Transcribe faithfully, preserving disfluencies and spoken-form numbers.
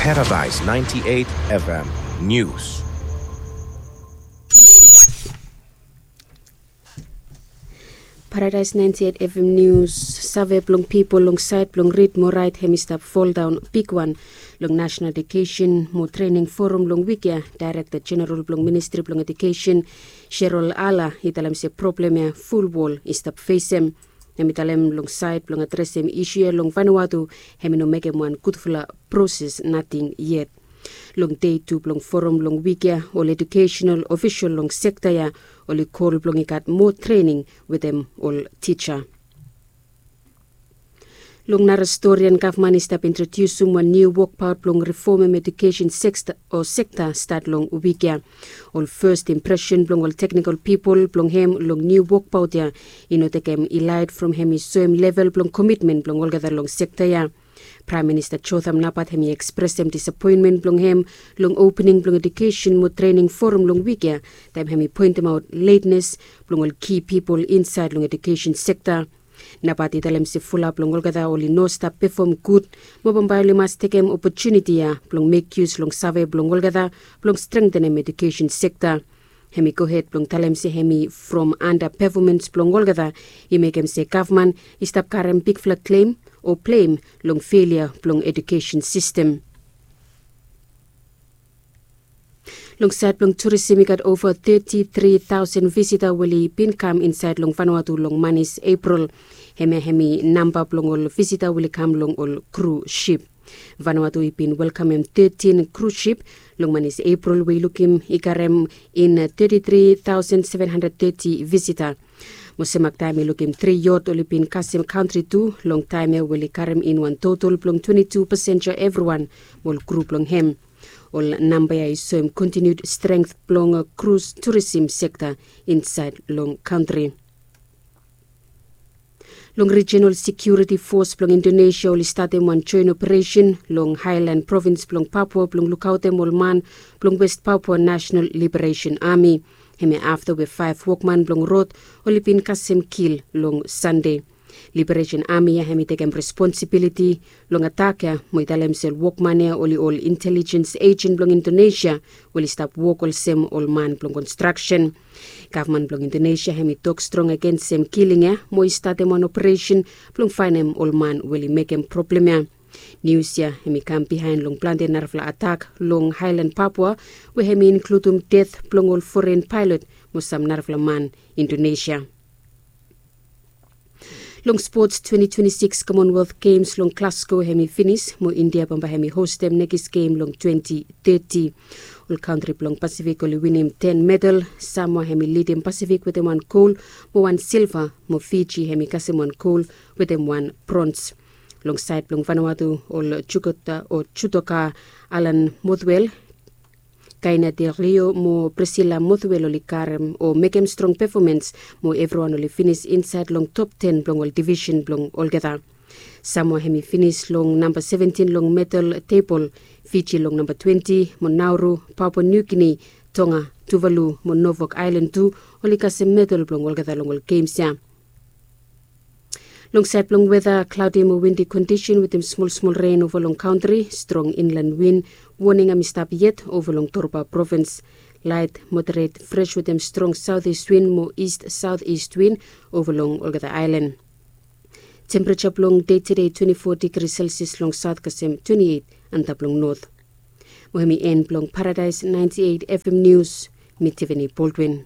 Paradise ninety-eight F M News. Paradise ninety-eight F M News. Save blong pipol long saed blong rid mo raet hem i stap foldaon bigwan. Long National Education mo Trening Forum long wik ya, Daerekta Jeneral blong Ministri blong Edukesen, Sherol Ala, i talem se problem ya fulwol i stap fesem. Hem i talem long saed blong adresem isu ya long Vanuatu, hem i no mekem wan gudfala proses nating yet. Long dei tu blong forum long wik ya, ol edukesenal ofisol long sekta ya oli kol blong i gat moa trening wetem ol tija. Long nara storian, gavman i stap introdiusum wan niu wokbaot blong rifomem edukesen sekta o sekta stat long wik ya. Ol fes impresen blong ol teknikol pipol blong hem long niu wokbaot ya i no tekem ilaet from hem i soem level blong komitmen blong olgeta long sekta ya. Praem Minista Jotham Napat hem i ekspresem disapoenmen blong hem long opening blong edukesen mo trening forum long wik ya, taem hem i poentemaot letnes blong ol ki pipol insaed long edukesen sekta. Napat i talem se fulap long olgeta oli no stap pefom gud, mo bambae oli mas tekem opotuniti ya blong mek yus long save blong olgeta blong strengtenem edukesen sekta. Hem i gohed blong talem se hem i from anda pefomens blong olgeta i mekem se gavman i stap karem bigfala klem o blem long felia blong edukesen sistem. Long saed blong turisem i gat ova teti tri taosen visita we oli bin kam insaed long Vanuatu long manis Epril. Hemia hem i namba blong ol visita we oli kam long ol kru sip. Vanuatu i bin welkamem tetin kru sip long manis Epril we i lukim i karem in teti tri taosen seven handred teti visita. Mo semak taem i lukim tri yot oli bin kasem kantri tu long taem ya we oli karem in wan totol blong twenti tu pasenja evriwan mo ol kru blong hem. Ol namba ya i soem kontiniud strength blong krus turisem sekta insaed long kantri. Long Rijinal Sekiuriti Fos blong Indonesia oli statem wan joen operesen long Haelan provins blong Papua blong lukaotem ol man blong West Papua Nasenal Liberesen Ami. Hemia afta we faef wokman blong rod oli bin kasem kil long Sande. Liberesen Ami ya hem i tekem responsibiliti long atak ya mo i talem se ol wokman ya oli ol intelijens ejen blong Indonesia we oli stap wok olsem ol man blong konstraksen. Gavman blong Indonesia hem i tok strong agensem kiling ya mo i statem wan operesen blong faenem ol man we oli mekem problem ya. Nius ya hem i kam bihaen long plante narafala atak long Haelan Papua we hem i inkludum det blong ol foren paelot mo sam narafala man Indonesia. Long spots, twenti twenti sikis Commonwealth Games long Glasgow hem i finis mo India bambae hem i hostem nekis gem long twenti teti. Ol kantri blong Pasifik oli winim ten medal. Samoa hem i lidim Pasifik wetem wan gol mo wan silva, mo Fiji hem i kasem wan gol wetem wan brons. Long saed blong Vanuatu, ol jukota o jutoka Alan Mothwell, Kaina Del Rio mo Priscilla Mothwell oli karem o mekem strong pefomens mo evriwan oli finis insaed long top ten blong ol divisen blong olgeta. Samoa hem i finis long namba seventin long medal tebol. Fiji long namba twenti, mo Nauru, Papua New Guinea, Tonga, Tuvalu mo Norfolk Aelan tu oli kasem medal blong olgeta long ol gems ya. Long saed blong weta, klaodi mo windi kondisen wetem smolsmol ren ova long kantri. Strong inlan win woning hem i stap yet ova long Torba provins. Laet moderet fres wetem strong saotis win mo ist saotis win ova long olgeta aelan. Tempereja blong dei tede twenti fo digri Celsius long saot kasem twenti eit antap long not. Mo hem i en blong Paradise ninety eight F M News. Mi Tiffany Baldwin.